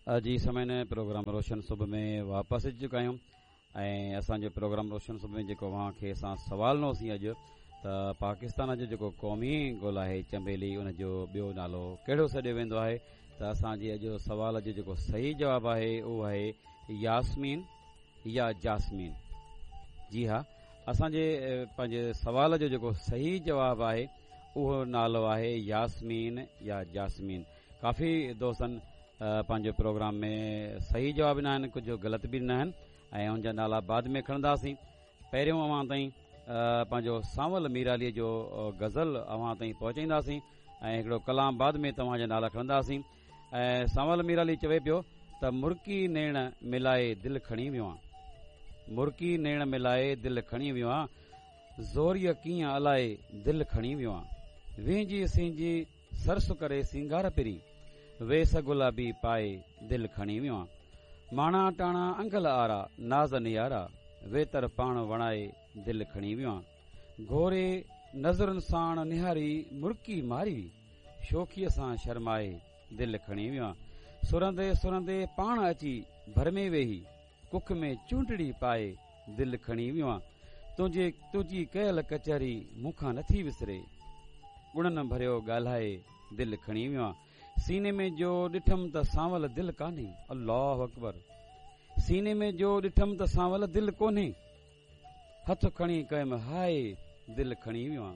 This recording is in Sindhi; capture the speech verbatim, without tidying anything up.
جي سامعين، پروگرام روشن صبح ۾ واپس اچي چڪا آهيون ۽ اسان جو پروگرام روشن صبح ۾ جيڪو اوهان کي اسان سوال ڏنوسين اڄ ته پاڪستان جو جيڪو قومي گل آهي چمبيلي، ان جو ٻيو نالو ڪهڙو سڏيو ويندو آهي؟ ته اسان جي اڄ سوال جو جيڪو صحيح جواب آهي، اهو آهي ياسمين يا جاسمين. جي ها، اسان جي پنهنجي سوال جو جيڪو صحيح جواب آهي، اهو نالو آهي ياسمين يا جاسمين. ڪافي دوستن پنهنجو پروگرام ۾ صحيح جواب ڏنا آهن، ڪجهه غلط به ڏنا آهن ۽ ان جا نالا بعد ۾ کڻنداسين. پهريون اوهان تائين پنهنجو سانول ميراليءَ جو غزل اوهان تائين پهچائينداسين ۽ هڪڙو ڪلام بعد ۾ توهان جا نالا کڻنداسين. ۽ سانول ميرالي چوي پيو ته مرڪي نيڻ ملائي دل کڻي ويو آ، مرڪي نيڻ ملائي دل کڻي ويو آ، زوريءَ ڪيئن الائي دل کڻي ويو آ. وهنجي سهنجي سرس ڪري سينگار پرين، ويس گلابي پائي دل کڻي ويو آ. ماڻا ٽاڻا انگل آرا ناز نيارا، ويتر پاڻ وڻائي دل کڻي ويو آ. گهوري نظرن ساڻ نهاري مرڪي ماري، شوخيءَ سان شرمائي دل کڻي ويو آ. سرندي سرندي پاڻ اچي ڀر ۾ ويهي، ڪک ۾ چونڊڙي پائي دل کڻي ويو آ. تنهنجي تنهنجي ڪيل ڪچهري مون کان نٿي وسري، گڻن ڀريو ڳالهائي دل کڻي ويو آ. سيني ۾ جو ڏٺم ته سانول دل ڪانهي، الله اڪبر، سيني ۾ جو ڏٺم ته سانول دل ڪونهي، هٿ کڻي ڪيم هاءِ دل کڻي ويو آ.